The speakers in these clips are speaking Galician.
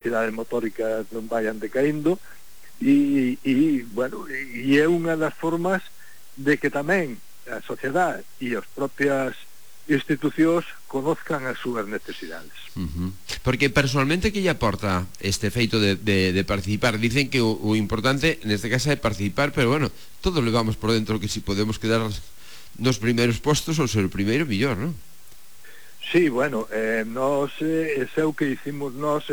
capacidades motóricas non vayan decaindo, e bueno, e é unha das formas de que tamén a sociedade e as propias institucións conozcan as súas necesidades. Porque personalmente que lle aporta este feito de participar? Dicen que o importante neste caso é participar, pero bueno, todos levamos por dentro que si podemos quedar nos primeiros postos ou ser o primeiro, millor, non? Sí, bueno, nós, ese é o que hicimos nós,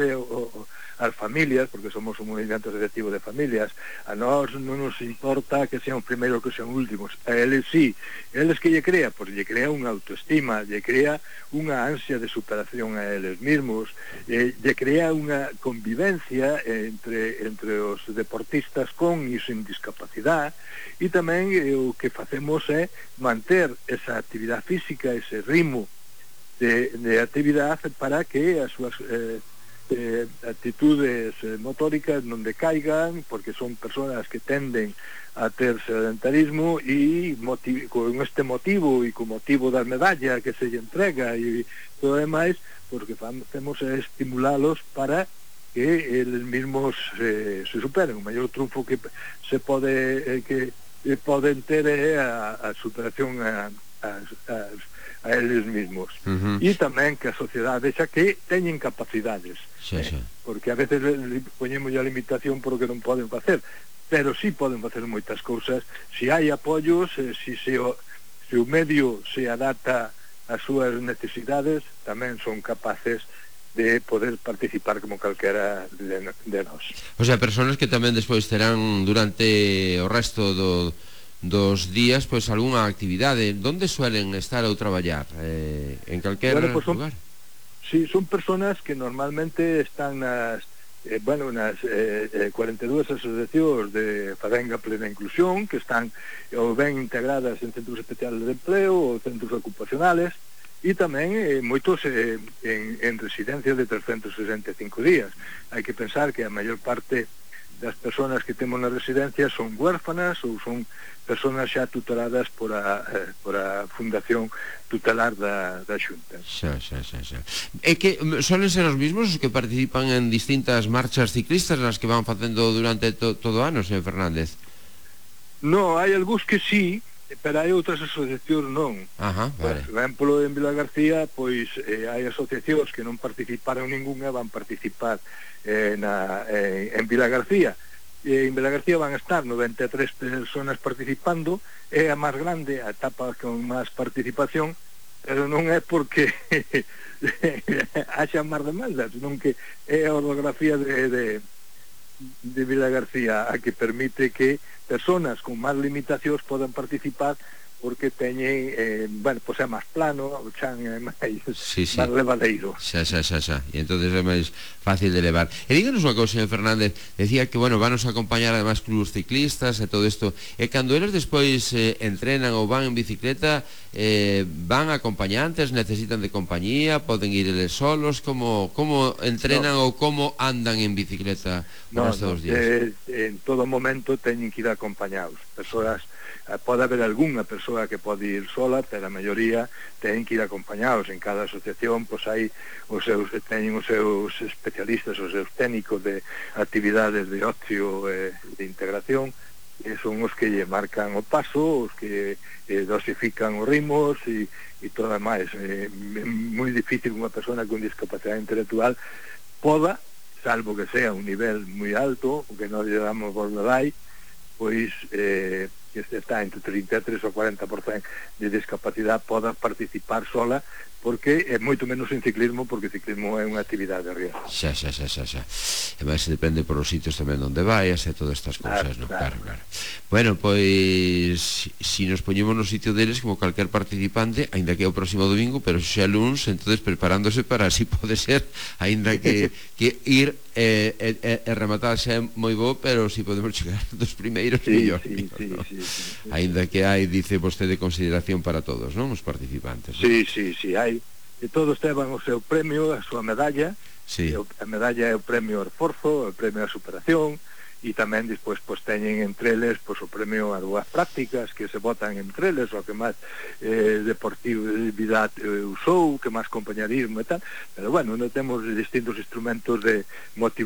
as familias, porque somos un movimento asociativo de familias, a nós non nos importa que sean primeiros que sean últimos, a eles sí, eles que lle crea, pois lle crea unha autoestima, lle crea unha ansia de superación a eles mesmos, lle crea unha convivencia entre os deportistas con e sin discapacidade, e tamén o que facemos é manter esa actividade física, ese ritmo de actividade para que as súas actitudes motóricas non decaigan, porque son persoas que tenden a ter sedentarismo, e con este motivo e con motivo das medallas que se lle entrega e todo demais, porque facemos estimularlos para que eles mesmos se superen. O maior triunfo que se pode que poden ter é a superación a eles mesmos. E tamén que a sociedade vexa que teñen capacidades, porque a veces poñemos a limitación por o que non poden facer, pero sí poden facer moitas cousas se hai apoios, se o medio se adapta ás súas necesidades, tamén son capaces de poder participar como calquera de nós. O sea, personas que tamén despois terán durante o resto dos días, pois algunha actividade. Donde suelen estar ou traballar? En calquer lugar? Sí, son personas que normalmente están nas 42 asociacións de Fadenga Plena Inclusión, que están ou ben integradas en centros especiales de empleo ou centros ocupacionales, e tamén moitos en residencias de 365 días. Hai que pensar que a maior parte das persoas que temos na residencia son huérfanas ou son persoas xa tuteladas por a Fundación Tutelar da Xunta. É que solen ser os mismos os que participan en distintas marchas ciclistas nas que van facendo durante todo o ano, señor Fernández? Non, hai algúns que sí, pero hai outras asociacións non. Vale. Por exemplo, en Vilagarcía, pois hai asociacións que non participaron ningunha, van participar en Vilagarcía. En Vilagarcía van a estar 93 personas participando, é a máis grande, a etapa con máis participación, pero non é porque haxa máis demandas, senón que é a orografía de Vilagarcía a que permite que personas con máis limitacións podan participar, porque teñen, pois é máis plano, o chan é máis levadeiro. Xa. E entonces é máis fácil de levar. E díganos unha cousa, señor Fernández, decía que, bueno, vanos a acompañar además clubs ciclistas e todo isto, e cando eles despois entrenan ou van en bicicleta, van acompañantes, necesitan de compañía, poden ir eles solos, como entrenan ou como andan en bicicleta os dos días? En todo momento teñen que ir acompañados, persoas. Pode haber algunha persoa que pode ir sola, pero a maioría teñen que ir acompañados. En cada asociación pois hai teñen os seus especialistas, os seus técnicos de actividades de ocio e de integración, e son os que lle marcan o paso, os que dosifican os ritmos e todo máis. É moi difícil unha persona con discapacidade intelectual poda, salvo que sea un nivel moi alto, o que nós lle damos Borderline, pois que está entre 33 ou 40% de discapacidade poda participar sola, porque é moito menos en ciclismo, porque ciclismo é unha actividade de riesgo. Xa. E máis depende por os sitios tamén onde vayas e todas estas cousas, non? Claro. Bueno, pois si nos poñemos no sitio deles como calquer participante, aínda que é o próximo domingo, pero xa luns, entonces preparándose para así pode ser, aínda que ir e rematar xa é moi bo, pero si podemos chegar dos primeiros, mellor. Aínda que hai, dice vostede, consideración para todos, non? Os participantes. Sí, hai. E todos tevan o seu premio, a súa medalla. A medalla é o premio ao esforzo, o premio á superación, e tamén despois pois teñen entre eles pois o premio a dúas prácticas que se votan entre eles, o que máis deportividade usou, que máis compañerismo e tal, pero bueno, non temos distintos instrumentos de motivación